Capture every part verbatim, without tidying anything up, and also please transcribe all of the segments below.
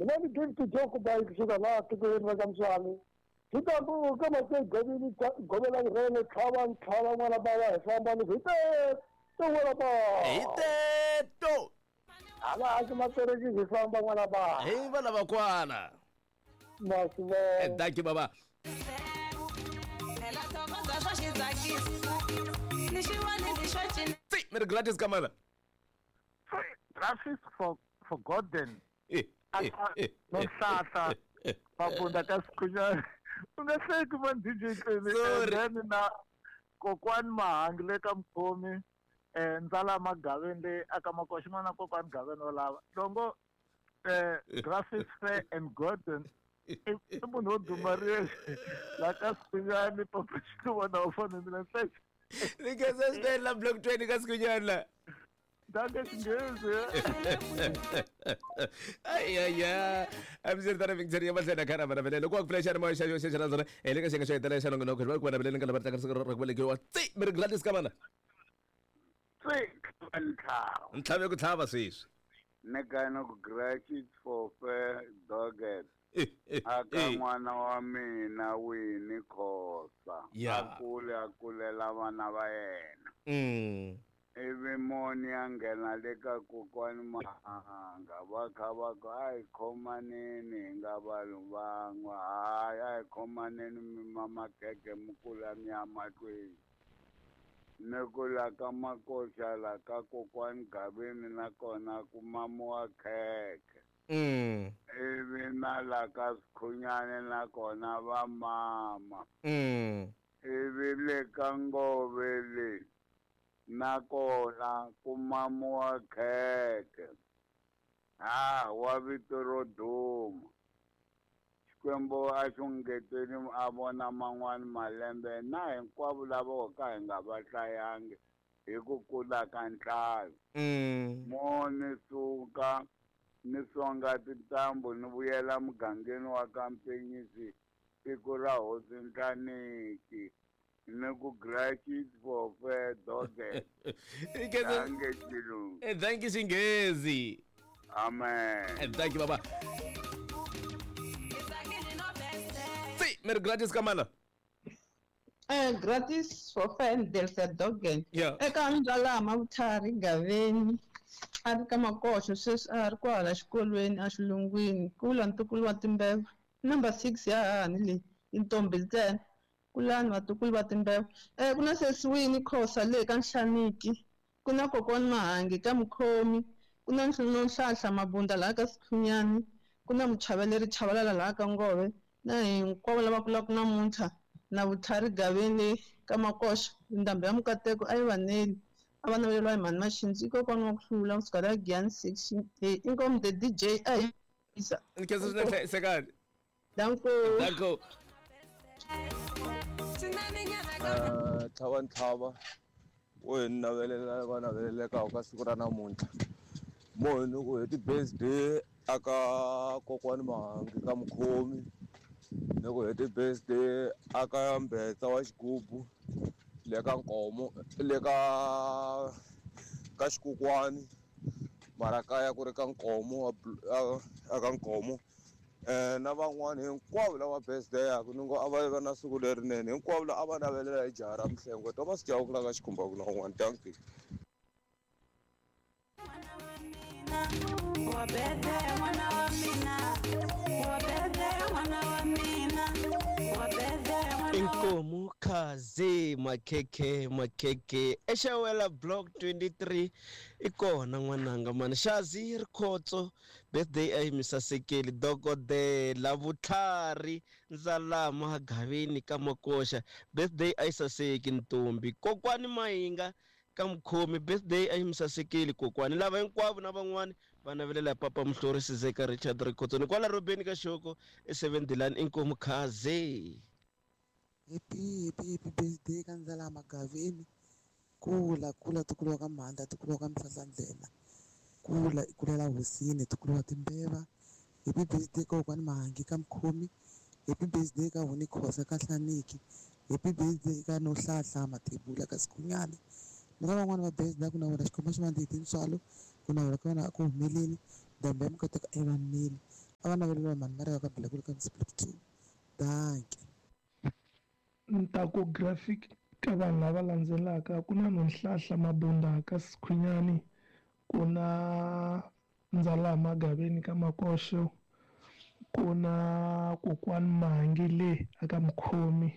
Mina ni David Joko bayi kusuka laha tikweni ra ka Mswani. Hitambu kama se govini govela rele tlhava ntlhava n'wana bava hi famba ni hi teto n'wana bava. Hi teto. Hala a matereki hi famba n'wana bava. Hi vana va kwana. Masivona. Thank you baba. Si, Merry Gladys Kamala. Graphics for for Gordon. Eh, eh, eh, no hlahla. Mabunda ka Sikhunyana. U nga hleki man D J Clemi. Then na kokwani Mahangi le ka Mkhomi, eh Ndzala Magaveni le aka Makoxi mana kokwani Gaveni wo lava. Longo eh Graphics Fair and Gordon i munhu wo duma riye la ka Sikhunyana papa xikuvona u fanele mina hleki. Ni khensa swinene la block twenty ka Sikhunyana la. Danke Xinghezi. Ay ay ay. Amzirtana Victoria mahlena khana vana vele loko ku flasha moya xa xa xa rona ele ka xenga xa hetelela xa nongonoko va ku vana vele nga va tsaka ra ku velekiwa. Tsi Merry Gladys Kamala. Tsi ntlhava. Ntlhava ku tlhava sweswi. Ni kana ku gratitude for fair dogged. Aka n'wana wa mina Winnie Khosa. A kule a kulela vana va yena. Mm. Ivi moni a nghena le ka kokwani Mahanga va kha va ku a hi khomaneni hi nga vanhu van'we, hayi a hi khomaneni mi mamakhekhe mi kula mi ya mahlweni. Ni ku la ka Makoxa la ka kokwani Gaveni nakona ku mamiwa khekhe. Mm. Ivi na la ka Sikhunyana nakona va mama. Mm. Ivi le ka Ngove le nakona ku mamiwa khekhe. Ha wa vito ro duma. Xikwembu a xi ngeteli a vona man'wani malembe na hinkwavo lava ho ka hi nga va hlayangi hi ku kula ka nhlayo. Mm. Mo ni suka ni songa tintambu ni vuyela mugangeni wa ka Mpenyisi tiko ra Hosi Nhlaniki. Ni ku gratitude for fair dogged. Thank you Xinghezi. Amen. Thank you baba. Si, Merry Gladys Kamala. Eh gratis for fair del dogged. Yeah. Eka Ndzala Mavuthari Gaveni. A ri ka Makoxo sweswi a ri kwala xikolweni a xilungwini kula ntukulu wa timbeva. Number six ya hahani leyi i ntombi ntsena. Kulani vatukulu va timbeva. Eh ku na sesi Winnie Khosa le ka Nhlaniki, ku na kokwani Mahangi ka Mkhomi, ku na Nhlahla Mabunda laha ka Sikhunyani, ku na Muchaveleri Chavalala laha ka Ngove, na hinkwavo lava kulaka namuntlha na Vutlhari Gaveni ka Makoxa. Ndhambi ya Mukateko a yi vaneli. A va naveleriwa hi mhani Maxindzi i kokwani wa ku hlula kusuka la Giyani section A. Inkomu the D J a hi yisa. Ni khensa swinene hlayisekani. Danko. Danko. Tlhava ntlhava wo hi navelela va naveleleka ka siku ra namuntlha. Mo hi ni ku happy birthday aka kokwani Mahangi ka Mkhomi, ni ku happy birthday aka Mbetsa wa Xigubu le ka Nkomo le ka ka Xikukwani mara kaya ku ri ka Nkomo aka Nkomo. Eh na van'wani hinkwavo lava birthday yaku ni ngo a va va na siku lerinene hinkwavo lava a va navelela hi jaha ra Mhlengo Thomas Chauke la ka Xikhumba ku na un'wana. Thank you. Inkomu Khazi Makhekhe Makhekhe exawela block twenty-three ikona n'wananga mani Xazi Rikhotso birthday a yi mi sasekeli dokodela Vutlhari Ndzalama Gaveni ka Makoxa birthday a yi saseki ntombi kokwani Mahinga ka Mkhomi birthday a yi mi sasekeli kokwani lava hinkwavo na van'wani va navelela papa Muhlori Sizeka Richard Rikhotso ni kwala Robeni ka Xoko e seven Dilan Inkomu Khazi. Happy, happy, happy birthday ka Ndzala Magaveni. Kula, kula tukulu wa ka Mhanda, tukulu wa ka Mhlahlandlela. Kula, kulela hosini, tukulu wa timbeva. Happy birthday ka kokwani Mahangi ka Mkhomi. Happy birthday ka Winnie Khosa ka Nhlaniki. Happy birthday ka Nohlahla Mathebula ka Sikhunyana. Na van'wani va birthday ku navela Xikwembu xi va ndzi tintswalo, ku navela ka vona a ku humeleli, ndhambi ya Mukateko a yi va neli. A va naveleliwa mhani Maria ka Bilakulu ka Mr Block two. Dankie. Ntaku graphic ka vanhu lava landzelaka ku na Nonhlahla Mabunda ka Sikhwinyani, ku na Ndzalama Gaveni ka Makoxo, ku na Kokwani Mahangi le aka Mkhomi,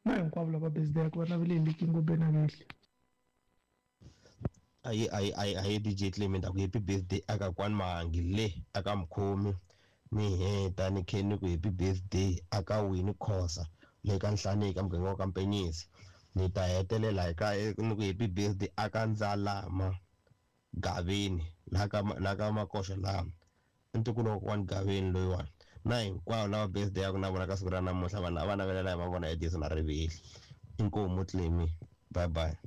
na hinkwavo lava birthday ku va navele hi Likingo Benaveli. Ayi ayi ayi ayi D J Clement aku happy birthday aka Kwani Mahangi le aka Mkhomi, ni heta ni khe ni ku happy birthday aka Winnie Khosa le ka Nhlaneki muganga wa ka Mpenyisi. Ni ta hetelela hi ka ni ku happy birthday aka Ndzalama Gaveni la ka la ka Makoxo laha ntukulu wa Kwani Gaveni loyiwani, na hinkwavo lava birthday ya ku na vona ka siku ra namuntlha vanhu va navelela hi va vona Edison na Riveli. Inkomu Clemi, bye bye.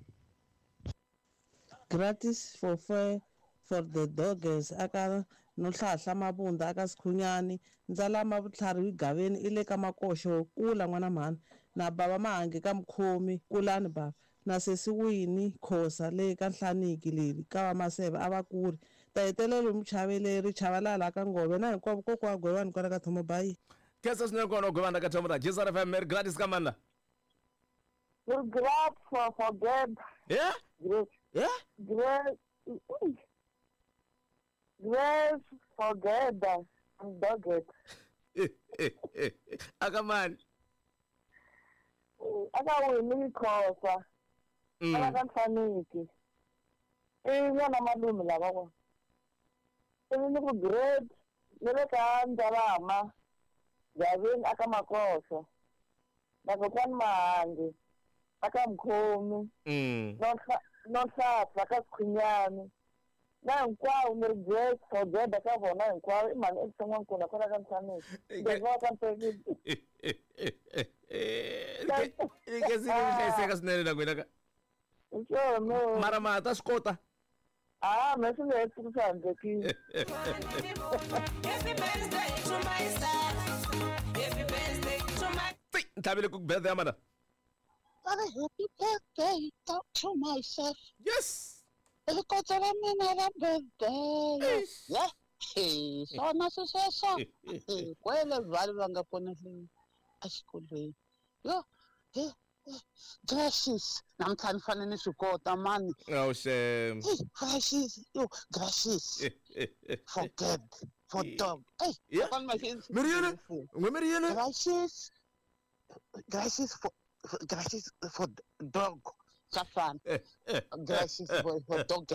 Gratis for fair for the doggers aka Nonhlahla Mabunda aka Sikhunyani, Ndzalama Vutlhari Gaveni ile ka Makoxo, kula n'wana mhani, na baba Mahangi ka Mkhomi, kulani baba, na sesi Winnie Khosa le ka Nhlaniki leri ka va Maseve a va kuri, ta hetelela muchaveleri Chavalala ka Ngove, na hinkwavo kokwa Gwevani kwala ka Thomo Bayi. Kesa swinene kona Gwevani ka Thomo Bayi. Jesus F M, Merry Gladys ka mani la? We're glad for for God. Yeah? Grace. Yeah? Grace. Grace for God and dog it. Aka mani? Aka Winnie Khosa. Aka ka Nhlaniki. I n'wana malume lava kona. Ivi ni ku great ni le ka Ndzalama Gaveni aka Makoxo, na Kokwani Mahangi aka Mkhomi, Nonhlahla ka Sikhwinyani, na hinkwavo ni ri great for God ka vona hinkwavo. I mhani eXitsongwankulu kwala ka Nhlaneki. Ndzi ka Mpenyisi. Ni hlayiseka swinene na n'wina ka. Swona. Mara ma ta swi kota? Ah, me swi nge he swi handzekile. Happy birthday to myself. Happy birthday to my Ntlhavile ku birthday ya mana. Happy birthday to myself. Yes. Rikotso ra mina ra birthday. Yeah. Hey, swona sweswo. Kwele vale va nga kona le exikolweni. Yo, he Gracious. Namuntlha ni fanele ni swi kota mani. Oh shame. Hey, gracious. Yo, gracious. For God, for dog. Hey, yeah. Miriana. N'we Miriana. Gracious. Gracious for gracious for dog. Safan. Gracious for, for dog.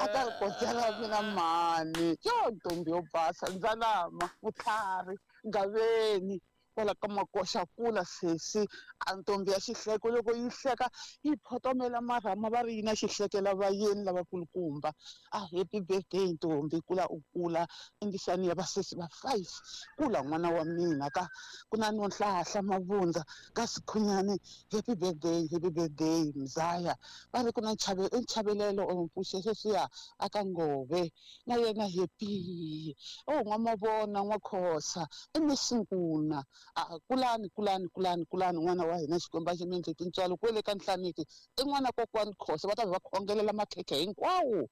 Aka kotela mina mani. Yo ntombi yo basa Ndzalama Vutlhari Gaveni. Kwala ka Makoxa kula sesi a ntombi ya xihleko loko yi hleka yi photomela marhama va ri yi na xihlekela vayeni lavakulukumba. A happy birthday ntombi, kula u kula endlisani ya vasesi va five, kula n'wana wa mina ka ku na Nonhlahla Mabunda ka Sikhunyani. Happy birthday, happy birthday Mzaya. Va ri ku na nchavelelo or mpfuxe sweswiya aka Ngove na yena happy. Oh n'wamavona n'wakhosa i Misinkuna. A kulani kulani kulani kulani n'wana wa hina Xikwembu a xi mi endle tintswalo kwele ka Nhlaniki i n'wana Kokwani Khosa va ta va khongelela makhekhe hinkwawo.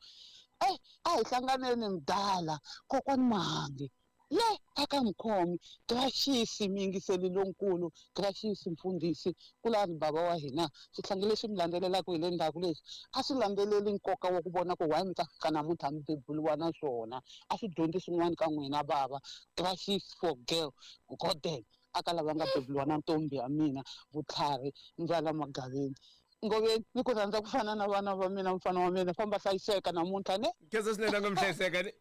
Eh, a hi hlanganeni mdala Kokwani Mahangi le aka Mkhomi. Gracious miyingiseli lonkulu, gracious mfundhisi, kulani baba wa hina. Xihlangi lexi mi landzelelaka hi le ndzhaku lexi a swi landzeleli nkoka wa ku vona ku why mi ta fika namuntlha mi beburiwa na swona, a swi dyondzi swin'wana ka n'wina bava. Gracious for girl Gordon aka lava nga beburiwa na ntombi ya mina Vutlhari Ndzalama Gaveni. Ngoveni ni ku rhandza ku fana na vana va mina, mfana wa mina, famba hlayiseka namuntlha ne. Kesa swinene nga mi hlayiseka ni.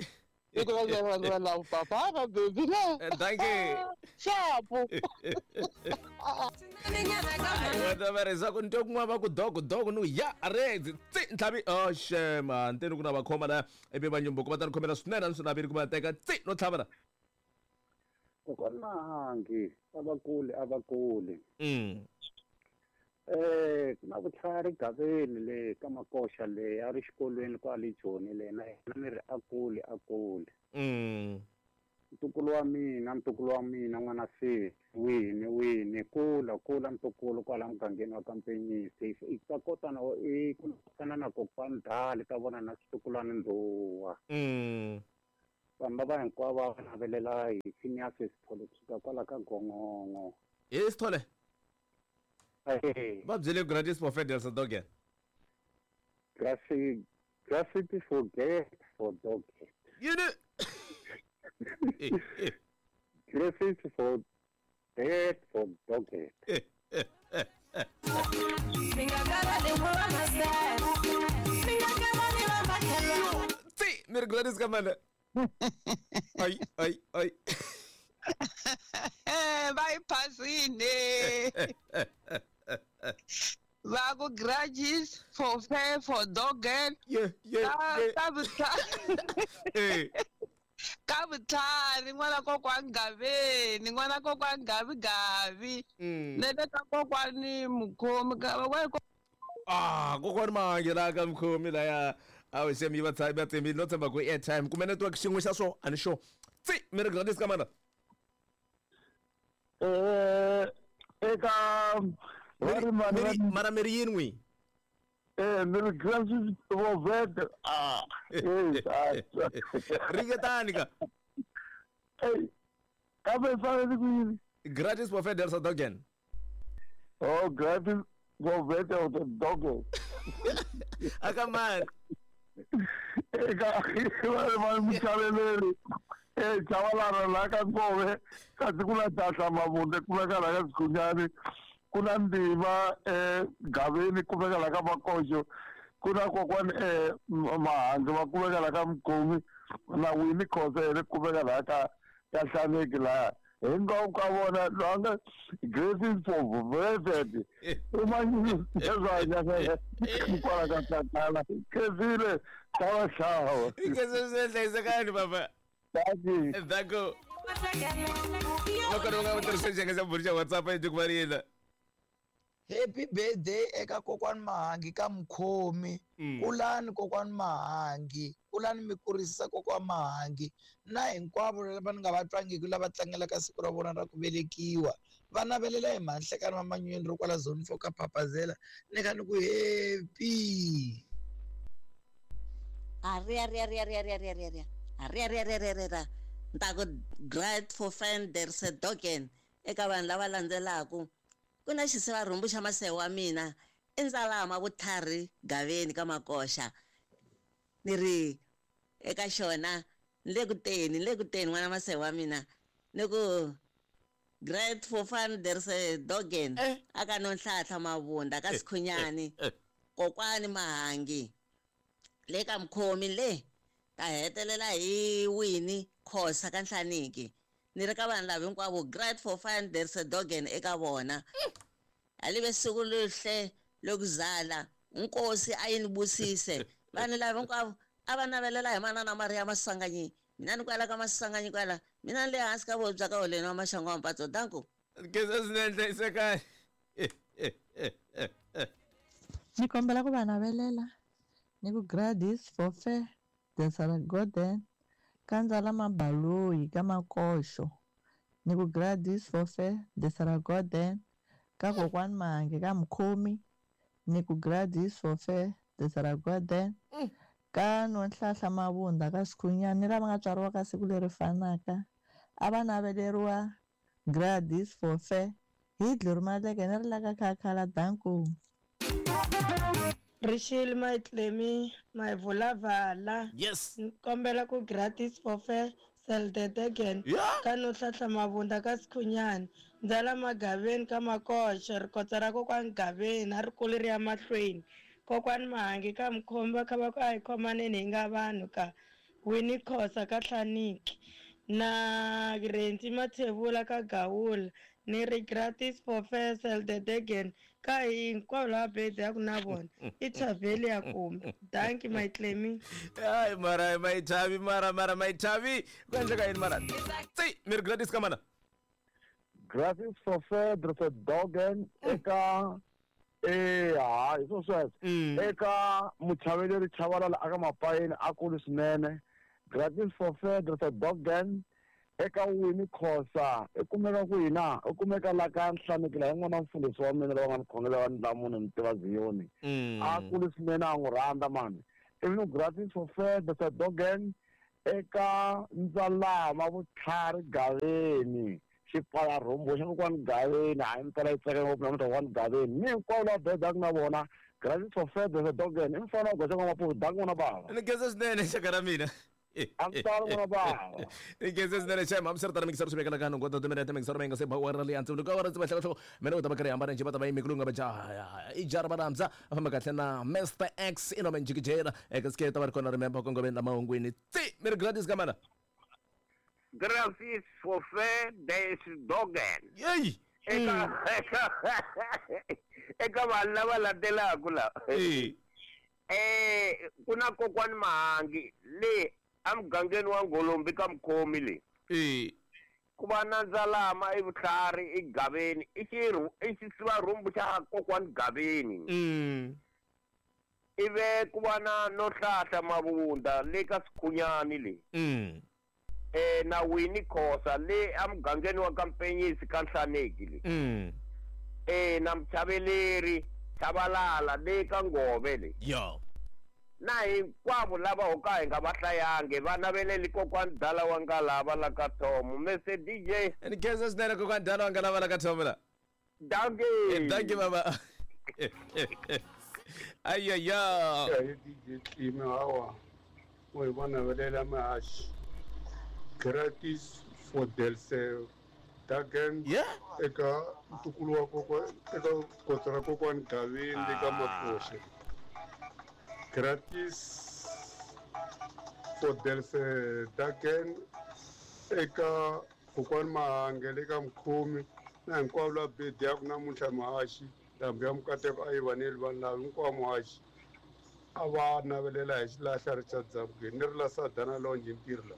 Papa, baby, ne. Thank you. Xapu. Wata ku nto kun'wana va ku dog dog nu ya redzi tsi ntlhavi oh shema nteni ku na va khoma la ivi va nyumbuko va ta ni khomela swinene a ni swi naveli ku va teka tsi no tlhava la. Kokwani Mahangi a va kuli a va kuli. Mm. Eh, ku na Vutlhari Gaveni le ka Makoxa le a ri xikolweni kwale Joni le na yena ni ri a kuli a kuli. Mm. Ntukulu wa mina ntukulu wa mina n'wana sesi wini wini kula kula ntukulu kwala mugangeni wa ka Mpenyisi i ta kota na i ku fana na Kokwani Dali ta vona na switukulwana Ndhuwa. Mm. Vanhu lava hinkwavo va navelela hi Phineas Sithole kusuka kwala ka Gongongo. Hi Sithole. Va byele gratis for Federal Sadogen. Gratis gratis for gay for dog. You know. Gratis for dead for dog. Tsi, mir Gladys kamana. Ay ay ay. Va yi phasile. Va ku grudges for fair for dog. Yeah, yeah, yeah. Ka vutlhari. Ka vutlhari n'wana kokwani Gaveni, n'wana kokwani Gavi Gavi. Ne le ka kokwani Mukhomi ka va Ah, kokwani Mahangi la ka Mukhomi laya. A wu xem yi va tshami va tshembile no tshemba ku airtime kumbe network xin'we xa swo a ni sure. Tsi, mi ri Gladys kamana. Eh eka mara mi ri yini n'wi? Eh mi ri Gladys for vet. Ah, eh ringetani ka. Eh kambe fanele ku yini? Gratis for Federal Sadogen. Oh, gratis for vet or the dog. Aka man. Eka va muchaveleri eh chavalana la ka Nkove kasi ku na Tata Mavunde kumeka la ka Sikhunyani ku na Ndima eh Gaveni kumeka la ka Makoxo ku na kokwani eh Mahangi va kumeka la ka Mukhomi na Winnie Khosa yena kumeka la ka ka Hlaneki laha hinkwavo ka vona loyi a nga gratis for velvet u manyezanyana kwala ka tatana khezile xava xava Ikese hlayisekani papa. Thank Danko. Loko ri nga tirhisa xiyenge xa bulo xa WhatsApp yi ku varila. Happy birthday eka kokwani Mahangi ka Mukhomi. Kulani kokwani Mahangi, kulani mi kurisisa kokwani Mahangi na hinkwavo lava ni nga va twangiki lava tlangelaka siku ra vona ra ku velekiwa. Va navelela hi Mahlekani va Manyweni ro kwala zone four ka Papazela ni kha ni ku happy. Aria ria ria ria ria ria ria. Aria ria ria ria ria. Nta ku great for friend there's a dogen eka vanhu lava landzelaku. Ku na xisivarhumbu xa masewa wa mina i Ndzalama Vutlhari Gaveni ka Makoxa. Ni ri eka xona ni le ku teni ni le ku teni n'wana masewa wa mina ni ku great for fun there's a dogen aka Nonhlahla Mavunda ka Sikhunyani kokwani Mahangi le ka Mukhomi le ta hetelela hi Winnie Khosa ka Nhlaniki. Ni ri ka vanhu lava hinkwavo great for fun there's a dogen eka vona. Alive siku lihle lokuzala Nkosi a yi ni busise vanhu lava hinkwavo a va navelela hi manana Maria Masanganyi mina ni kwala ka Masanganyi kwala mina ni le hansi ka vobya ka holeni wa Maxangu wa Mpatso danko. Kesa swinene hlayisekani. Ni kombela ku va navelela ni ku gratis for fair there's a golden ka Ndzalama Baloyi ka Makoxo ni ku gratis for fair there's a golden ka kokwani Mahangi ka Mukhomi ni ku gratis for fair there's a golden ka Nonhlahla Mavunda ka Sikhunyani ni lava nga tswariwa ka siku leri fanaka a va naveleriwa gratis for fair hi Dluri Maleke ni ri la ka Khakhala danko. Rishil my Clemi my vulavala. Yes. Nkombela ku gratis for fair sell the again. Ka Nonhlahla Mavunda ka Sikhunyani Ndzalama Gaveni ka Makoxo rikotsa ra kokwani Gaveni a ri kuli ri ya mahlweni kokwani Mahangi ka Mukhomi va kha va ku a hi khomaneni hi nga vanhu ka Winnie Khosa ka Hlaniki na Rentsi Mathebula ka Gawula ni ri gratis for fair sell the again ka hinkwavo lava birthday ya ku na vona i Chaveli ya kumbe thank you my Clemi. Ay mara my Chavi mara mara my Chavi ku endleka yini mara tsi mi ri Gladys kamana. Gratis for fair there's a dogen eka eh hayi swo sweswo eka muchaveleri Chavalala aka Mapayeni a kulu swinene gratis for fair there's a dogen eka Winnie Khosa i kumeka kwihi na u kumeka la ka Nhlaneki la hi n'wana mfundhisi wa mina loyi nga ni khongela wa Ndlamuni ni tiva Ziyoni a kulu swinene a n'wi rhandza mani ivi ni gratis for fair there's a dogen Eka Ndzalama Vutlhari Gaveni xipfala rhumbu xa kokwani Gaveni hayi mpela yi tsaka ngopfu namuntlha kokwani Gaveni ni hinkwavo lava bedaka na vona gratis for fed dogen i mfana wa goxa n'wamapuku danki n'wana bava ni khensa swinene xaka ra mina a n'wana bava ni khensa swinene xem hambiswiritano mikisaro swi vekela ka nhungu ta timinete mikisaro mi nga se ba wara leyi antswa loko awara ndzi va hloko mina u ta va karhi hambana njhe va ta va yimi kulunga va jaha i jara va rhandza a famba kahle na Mister X i nome njikijela eka sike ta va ri kona remember kongomeni la mahungwini tsi mi ri gratis ka mana Gratis for fair des dogen. Yey! Eka eka eka vanhu lava landzelaka la. Eh. Eh ku na kokwani Mahangi le emugangeni wa Ngolombi ka Mkhomi le. Eh. Ku va na Ndzalama i Vutlhari i Gaveni i xirhu i xisivarhumbu xa kokwani Gaveni. Mm. Ive ku va na Nohlahla Mavunda le ka Sikhunyani le. Mm. Eh na Winnie Khosa le emugangeni wa Kampenyisi ka Nhlaneki le. Mm. Eh na Mchaveleri Chabalala le ka Ngove le. Yo. Na hinkwavo lava ho ka hi nga va hlayangi va naveleli kokwani Dala wa Ngalava la ka Thomo. Mister D J. Ni khensa swinene kokwani Dala wa Ngalava la ka Thomo la. Dankie. Dankie baba. Ayaya. Ya D J Tlime hawa. O hi va navelela mahaxi. Gratis for Delse Dagen yeah. Eka ntukulu wa kokwa eka kotsa ra kokwani Gaveni le ka Makoxe. Gratis for Delse Dagen eka kokwani Mahange le ka Mkhomi na hinkwavo lava bediyaku namuntlha mahaxi ndhambi ya mukateko a yi vaneli vanhu lava hinkwavo muhaxi a va navelela hi xilahla Richard Zabugeni ni ri la Sadana Lonje ntirho la.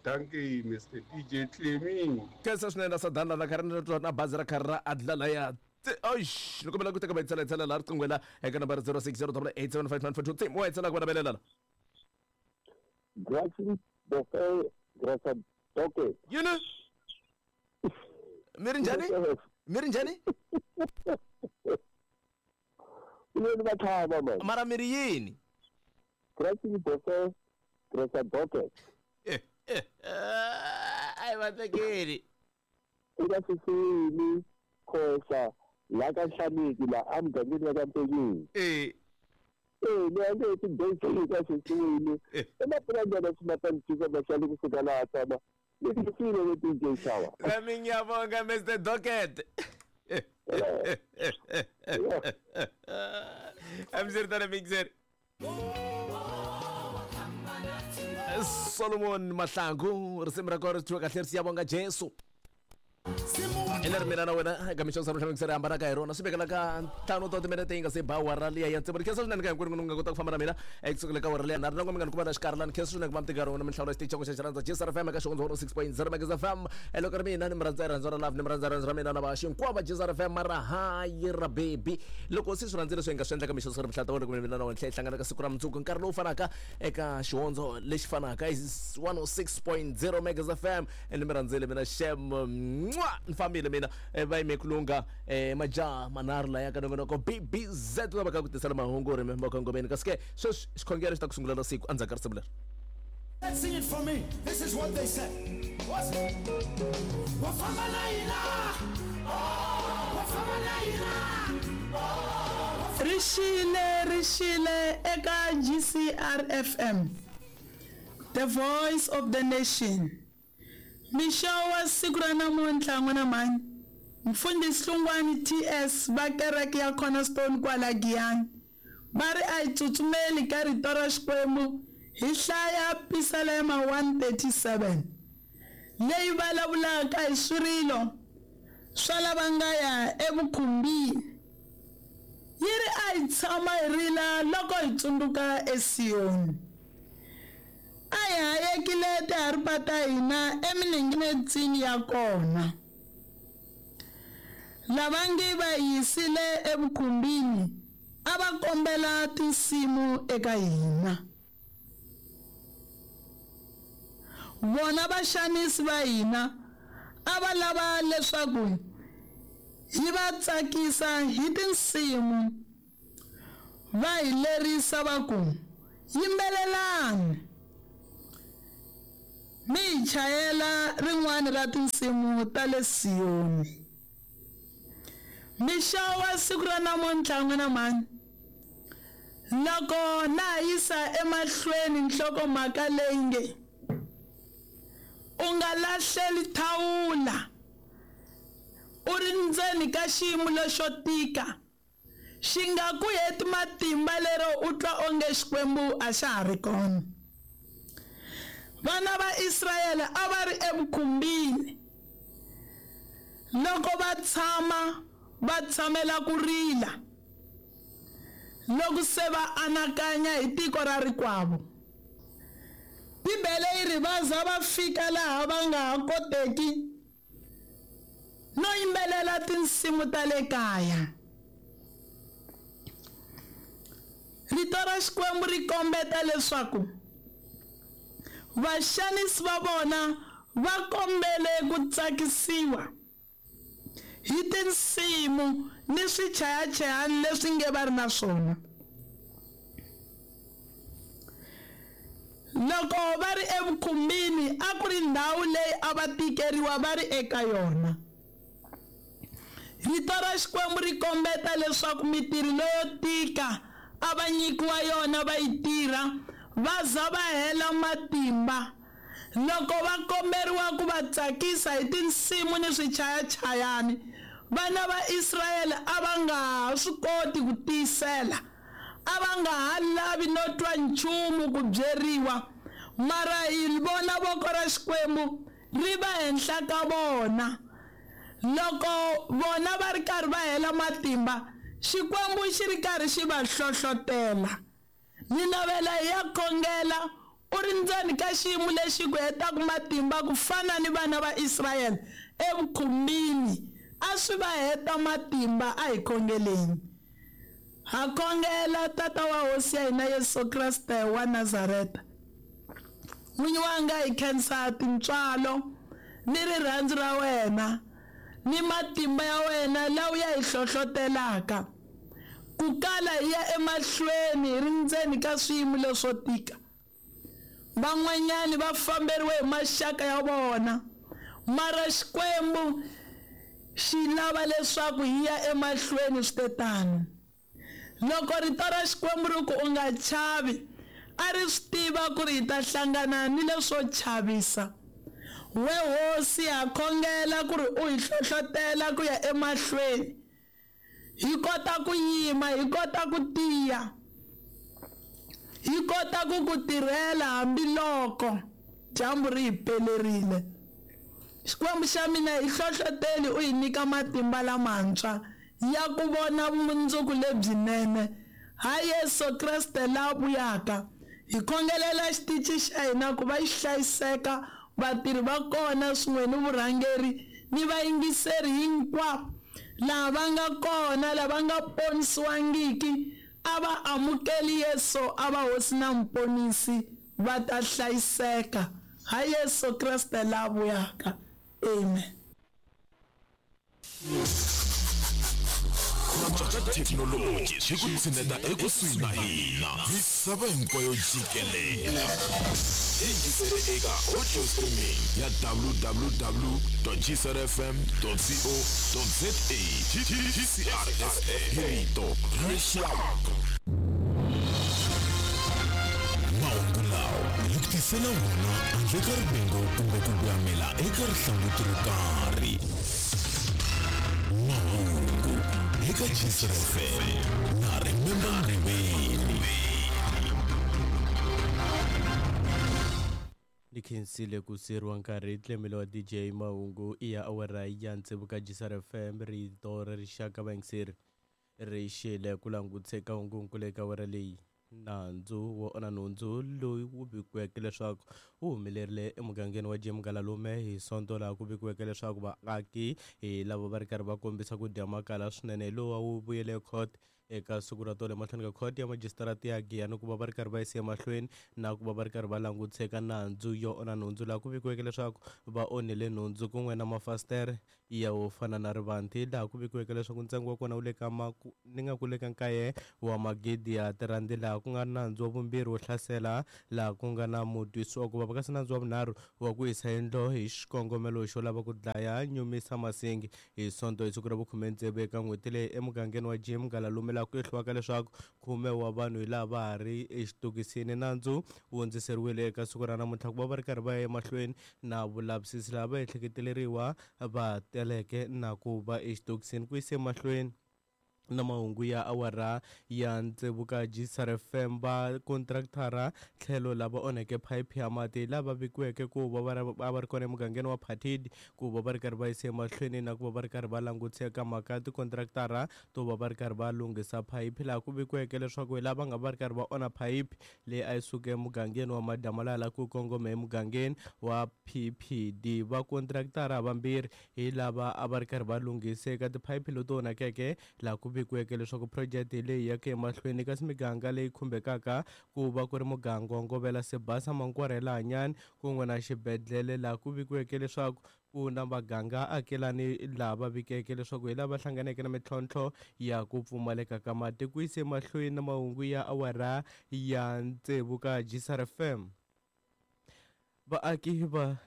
Thank you, Mister D J Clemmy. Khensa swinene Sadana la karhi ni na bazi ra karhi ra adla laya. Oish, loko mi lava ku teka mayitsela yitsela laha riqingho la eka nambara zero six zero double eight seven five nine four two three mo yitsela ku va navelela la. Gratis buffet grasa doke. Yini? Mi ri njhani? Mi ri njhani? Yini va tlhava man. Mara mi ri yini? Gratis buffet grasa doke. Ai va tekeli. Eka sisini Khosa la ka Nhlaneki la emugangeni wa ka Mpenyeni. Eh. Eh, ni a nge ti basic ka sisini. Emapurangana swi ma ta ni kusuka laha tshama. Ni tisile le D J Shawa. Nami ngiyabonga Mister Docket. Amsirtana mixer. Solomon Mahlangu risimu ra kona ri thyiwe kahle ri siyabonga Jesu. Ene mina na wena eka mixo sa mixer hambana ka hi rona swi vekela ka ntlhanu ta timinete yi nga se ba awara liya ya tsevu. Khensa swinene ka hinkwenu mi nga kota ku famba na mina ekusukela ka awara liya na ri na n'we mi nga ni kuma na xikarhi lani. Khensa swinene ku va mi tika rona mi hlawula xitichi xa xi rhandza G S R F M eka xihondzo one oh six point zero Megas F M. Loko ri mina ni mi rhandza rirhandzu ra love ni mi rhandza rirhandzu ra mina na vaxi hinkwavo va G S R F M mara hayi ra baby. Loko se swi rhandzile swi nga swi endla ka mixo sa mihlata wena kumbe mina na wena hi hlangana ka siku ra mundzuku nkarhi lowu fanaka eka xihondzo lexi fanaka is one oh six point zero Megas F M. Ni mi rhandzile mina xem mwa ni fambile mina va yime kulunga majaha manharhu laya ka nongonoko B B Z va ka ku tisela mahungu ri makongomeni kasi ke sweswi xikhongelo xi ta ku sungulela siku endzhaku ka risimu leri. Let's sing it for me. This is what they said. What's it? Rixile rixile eka G C R F M, the voice of the nation. Mixo wa siku ra namuntlha n'wina mhani Mfundhisi Hlungwani T S va kereke ya Cornerstone kwala Giyani va ri a hi tsutsumeli ka rito ra Xikwembu hi hlaya Pisalema one thirty-seven leyi vulavulaka hi swirilo swa lava nga ya evukhumbini. Yi ri a hi tshama hi rila loko hi tsundzuka eSiyoni. A hi hayekile tiharipa ta hina emininginetsini ya kona. Lava nge va yisile evukhumbini a va kombela tinsimu eka hina. Vona vaxanisi va hina a va lava leswaku hi va tsakisa hi tinsimu. Va hi lerisa va ku yimbelelani. Mi hi chayela rin'wana ra tinsimu ta le Siyoni. Mixo wa siku ra namuntlha n'wina mhani, loko na ha yisa emahlweni nhlokomhaka leyi nge u nga lahleli thawula u ri ndzeni ka xiyimo lexo tika, xi nga ku heti matimba lero u twa onge Xikwembu a xa ha ri kona. Vana va Israyele a va ri evukhumbini, loko va tshama va tshamela ku rila loko se va anakanya hi tiko ra rikwavo. Bibele yi ri va za va fika laha va nga ha koteki no yimbelela tinsimu ta le kaya. Rito ra Xikwembu ri kombeta leswaku vaxanisi va vona va kombele ku tsakisiwa hi tinsimu ni swichayachayani leswi nge va ri na swona. Loko va ri evukhumbini a ku ri ndhawu leyi a va tikeriwa va ri eka yona. Rito ra Xikwembu ri kombeta leswaku mitirho leyo tika a va nyikiwa yona va yi tirha va za va hela matimba. Loko va komberiwa ku va tsakisa hi tinsimu ni swichayachayani, vana va Israyele a va nga ha swi koti ku tiyisela, a va nga ha lavi no twa nchumu ku byeriwa, mara hi vona voko ra Xikwembu ri va henhla ka vona. Loko vona va ri karhi va hela matimba, Xikwembu xi ri karhi xi va hlohlotela. Ni navela hi ya khongela u ri ndzeni ka xiyimo lexi ku hetaka matimba ku fana ni vana va Israyele evukhumbini, a swi va heta matimba. A hi khongeleni. Ha khongela Tata wa Hosi ya hina Yesu Kreste wa Nazareta, n'winyi wanga, hi khensa tintswalo ni rirhandzu ra wena ni matimba ya wena lawa ya hi hlohlotelaka ku kala hi ya emahlweni hi ri ndzeni ka swiyimo leswo tika. Van'wanyani va famberiwe hi maxaka ya vona, mara Xikwembu xi lava leswaku hi ya emahlweni swi te tano. Loko rito ra Xikwembu ri ku u nga chavi, a ri swi tiva ku ri hi ta hlangana ni leswo chavisa. We Hosi, ha khongela ku ri u hi hlohlotela ku ya emahlweni, hi kota ku yima, hi kota ku tiya, hi kota ku ku tirhela hambiloko dyambu ri hi pelerile. Xikwembu xa mina, hi hlohloteli u hi nyika matimba lamantshwa ya ku vona vumundzuku lebyinene ha Yesu Kreste la vuyaka. Hi khongelela xitichi xa hina ku va xi hlayiseka, vatirhi va kona swin'we ni vurhangeri ni vayingiseri hinkwavo lava va nga kona, lava nga ponisiwangiki a va amukeli Yesu a va Hosi na Muponisi, va ta hlayiseka ha Yesu Kreste la vuyaka. Amen. Thekinoloji xi ku tshineta ekusuhi na hina misava hinkwayo jikelele. Yingisele eka audio streaming ya w w w dot g c r f m dot co dot z a. G C R F M, hi rito ra rixaka. Mahungu lawa hi ku tisela wona handle ka rivengo kumbe ku voyamela eka rihlanguti ro karhi. Mahungu eka G C R F M na Remember Mriveni. Ni khensile ku siriwa nkarhi tlemelo wa D J Mahungu i ya awara ya tsevu ka G C R F M, rito ra rixaka. Vayingiseri ri xile ku languteka hungunkulu eka awara leyi. Nandzu wo onha nhundzu loyi wu vikiweke leswaku wu humelerile emugangeni wa Jim Galalume hi Sonto, laha ku vikiweke leswaku vaaki hi lava va ri karhi va kombisa ku dya makala swinene. Lowa wu vuyele court eka siku ra tolo emahlweni ka khoto ya majisitarata ya Giyani ku va va ri karhi va yisa emahlweni na ku va va ri karhi va langutisa nandzu yo onha nhundzu laha ku vikiweke leswaku va onhile nhundzu kun'we na mafasitere ya wo fana na rivanti laha ku vikiweke leswaku ntsengo wa kona wu le ka ni nga ku le ka nkaye wa magidi ya tirandi laha ku nga nandzu wa vumbirhi wo hlasela laha ku nga na mutwisi wa ku vava kasi nandzu wa vunharhu wa ku hisa yindlu hi xikongomelo xo lava ku dlaya Nyumisa Masingi hi Sonto hi siku ra vukhume tsevu eka n'hweti leyi emugangeni wa Jim Ngalalume laha ku ehliwaka leswaku khume wa vanhu hi laha va ha ri exitokisini. Nandzu wu hundziseriwile eka siku ra namuntlha ku va va ri karhi va ya emahlweni na vulavisisi laha va ehleketeleriwa va teleke na ku va exitokisini. Ku yise mahlweni na mahungu ya awara ya tsevu ka G S R F M, va contractara tlhelo lava onheke phayiphi ya mati lava vikiweke ku va va va ri kona emugangeni wa Phathidi ku va va ri karhi va yisa emahlweni na ku va va ri karhi va langutisa eka mhaka ya tikontraktara to va va ri karhi va lunghisa phayiphi laha ku vikiweke leswaku hi lava nga va ri karhi va onha phayiphi leyi a yi suka emugangeni wa Madamalala ku kongoma emugangeni wa P P D. Va contractara vambirhi hi lava a va ri karhi va lunghisa eka tiphayiphi leti onhakeke laha ku vikiweke leswaku phurojeke leyi yaka emahlweni kasi miganga leyi khumbekaka ku va ku ri muganga wa Ngovela, Sibasa, Mankwarela, Hanyani kun'we na xibedhlele laha ku vikiweke leswaku ku na maganga akelani laha va vikeke leswaku hi lava hlanganeke na mintlhontlho ya ku pfumaleka ka mati. Ku yise mahlweni na mahungu ya awara ya tsevu ka G S R F M, vaaki va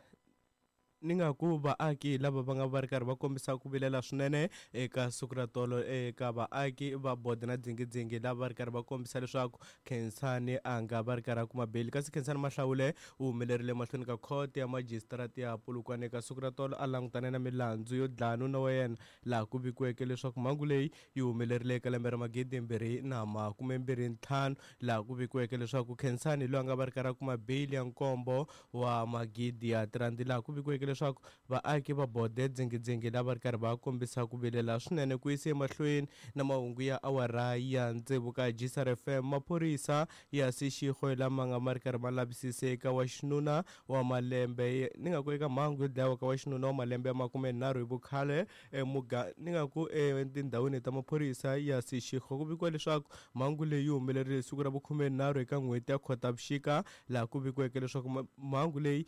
ni nga ku vaaki lava va nga va ri karhi va kombisa ku vilela swinene eka siku ra tolo eka vaaki va Bode na Dzingidzingi lava va ri karhi va kombisa leswaku Khensani a nga va ri karhi a kuma beli kasi Khensani Mahlawule u humelerile mahlweni ka khoto ya majisitarata ya Polokwane eka siku ra tolo a langutane na milandzu yo dlaya nuna wa yena laha ku vikiweke leswaku mhangu leyi yi humelerile eka lembe ra magidi mbirhi na makume mbirhi ntlhanu laha ku vikiweke leswaku Khensani loyi a nga va ri karhi a kuma beyili ya nkombo wa magidi ya tirandi laha ku vikiweke leswaku vaaki va Bode Dzingidzingi lava ri karhi va kombisa ku vilela swinene. Ku yisa emahlweni na mahungu ya awara ya tsevu ka G S R F M, maphorisa ya Seshego lama nga ma ri karhi ma lavisise eka wa xinuna wa malembe ni nga ku eka mhangu yo dlayiwa ka wa xinuna wa malembe ya makumenharhu hi vukhale emuga ni nga ku etindhawini ta maphorisa ya Seshego. Ku vikiwa leswaku mhangu leyi yi humelerile siku ra vukhumenharhu eka n'hweti ya Khotavuxika laha ku vikiweke leswaku mhangu leyi